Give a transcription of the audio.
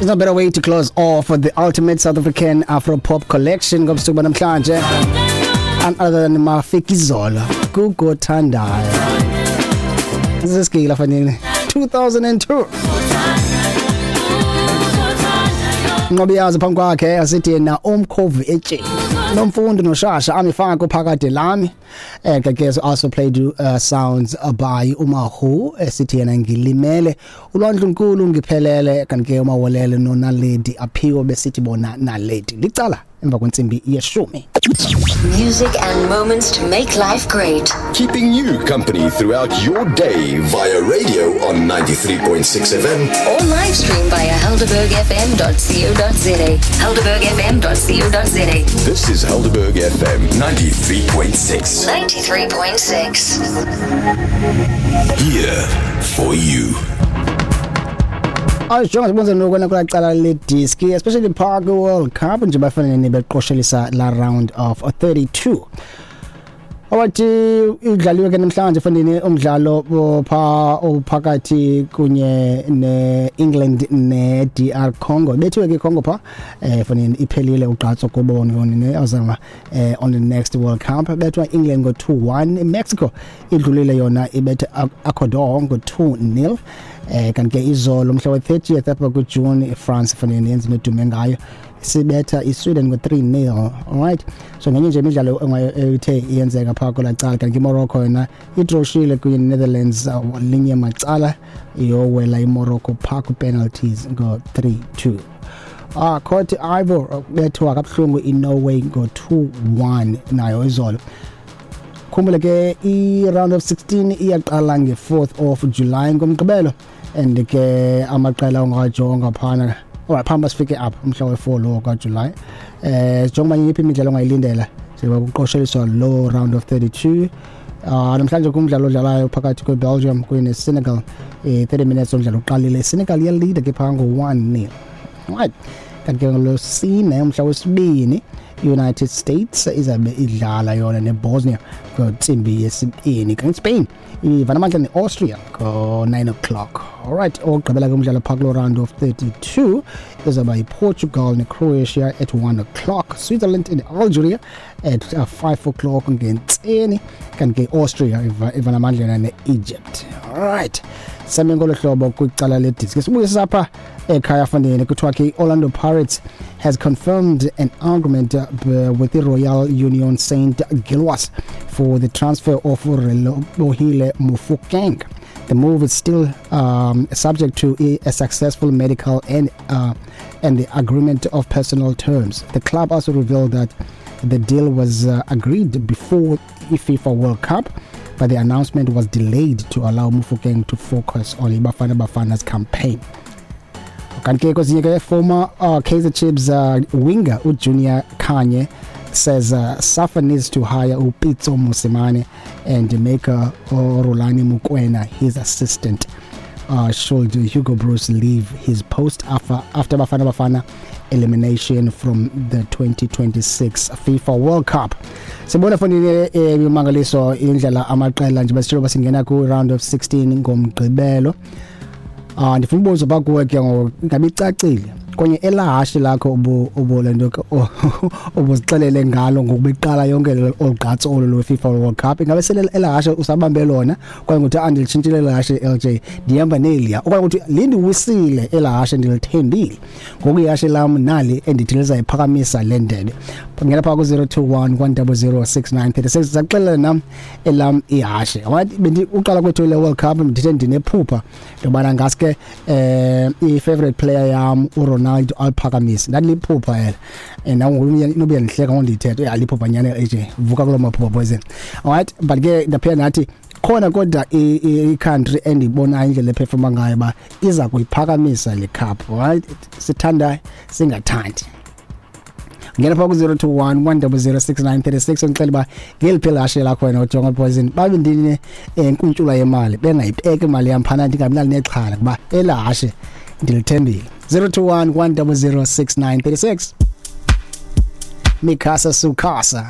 There's no better way to close off the ultimate South African Afro Pop collection ngobusuku banamhlanje and other than Mafikizolo, Gugu Thandayo. Sisigila fanini 2002. Nqobiyazi phambi kwakhe asithi yena umkhovu etsheni nomfundi noshasha amifako phakade lami. Ke also played sounds by uMahu esithi yena ngilimele ulwandle nkulu ngiphelele, kanti ke uMawolele noNaledi Aphiwe besithi bona Naledi licala emva kwentsimbi yeshumi. Music and moments to make life great. Keeping you company throughout your day via radio on 93.6 FM. Or live stream via helderbergfm.co.za. Helderbergfm.co.za. This is Helderberg FM 93.6. 93.6. Here for you. Ayijonga sibonze nokwena kulacala le diski, especially Park World Cup nje bafanele nibeqoshelisa la round of 32. Awathi idlaliwe ke namhlanje fandini umdlalo pha ophakathi kunye neEngland neDR Congo. Bethiwe ke Congo pha fandini iphelile ugqatso kubo ne azama on the next World Cup. Bethwa England ngo 2-1. Mexico idlulile yona ibethe Ecuador ngo 2-0. Kanti ke izolo mhla we-30th apha kuJune, iFrance fanele yenze nedume ngayo sibetha iSweden ngo-3-0. Alright, so ngenye nje imidlalo ethe iyenzeka phaa kwelaa cala. Kanti iMorocco yona idroshile kunye neNetherlands linye macala, iyowela iMorocco phaa kwi-penalties ngo-3-2. Cote Ivoire bethwa kabuhlungu iNorway ngo-2-1 nayo izolo. Khumbule ke i-round of 16 iyaqala nge-4th of July ngomgqibelo, and ke amaqela ongajonga phana. Alright, phambi sifike apha umhla we-4 lo kaJuly, jonga yiphi imidlalo ongayilindela njengoba kuqosheliswa lo round of 32. Namhlanje kumdlalo odlalayo phakathi kweBelgium kunye neSenegal, 30 minutes omdlalo uqalile, Senegal iyaleader ke phaa ngo-1-0. Alright, kanti ke ngolwesine umhla wesibini, United States izabe idlala yona neBosnia ngentsimbi yesibini, kanti Spain ivana amandla ne-Austria ngo-9 o'clock. Alright, okugqibela ke umdlalo phaa kulo round of 32 izawuba yiPortugal neCroatia at 1 o'clock, Switzerland and Algeria at 5 o'clock ngentseni, kanti ke Austria ivana amandla yona ne-Egypt. Alright, same ngolo hlobo kwicala lediski. Sibuye sapha ekhaya fandini, kuthiwa ke i-Orlando Pirates has confirmed an agreement with the Royal Union Saint Gilloise for the transfer of Relebohile Mofokeng. The move is still subject to a successful medical and the agreement of personal terms. The club also revealed that the deal was agreed before the FIFA World Cup, but the announcement was delayed to allow Mofokeng to focus on Bafana Bafana's campaign. Kanti ke kwezinye ke, former Kaizer Chiefs winger uJunior Khanye says SAFA needs to hire uPitso Mosimane and make Rulani Mokwena his assistant should Hugo Broos leave his post after Bafana Bafana elimination from the 2026 FIFA World Cup. Sibona fonini imangaliso indlela amaqela nje basitshela basingena ku round of 16 ngomgqibelo. Ndifuna ubuza pha kuwe ke ngoku, ingabe icacile konye elahashe lakho ubu lento ubuzixelele ngalo ngokubeqala yonke olugqatso olu lwe FIFA World Cup? Ingabe sele elahashe usabambe lona kwaye ngokuthi andilitshintshile elahashe LJ, ndihamba neliya, okanye ukuthi lindiwisile elahashe ndilithembile ngoku ihashe lam nali endithi lizayiphakamisa le ndebe? Ngena phaa ku-021 100 6936, zakuxelela nam elam ihashe. Alright, bendi uqala kwethu le World Cup ndithe ndinephupha ndobana ngaske i-favorite player yam uRonaldo aliphakamise. Ndandiliphupha ela and nangoku nobe yandihleka ngondiyithetha uyaliphupha nyani AJ, vuka kuloo maphupha poison. Alright, but ke ndaphinda ndathi khona kodwa i-country endiyibonayo indlela ephefoma ngayo uba iza kuyiphakamisa le cup. Alright, sithanda singathandi, ngena phaa ku-021 100 6936 undixele uba ngeliphi elahashe lakho wena ujonga poison. Babe ndine nkuntshula yemali, bengayibeki imali yam phana, ndingabi nalo nexhala kuba elahashe ndilithembile. 021 100 6936. Mikasa Sukasa.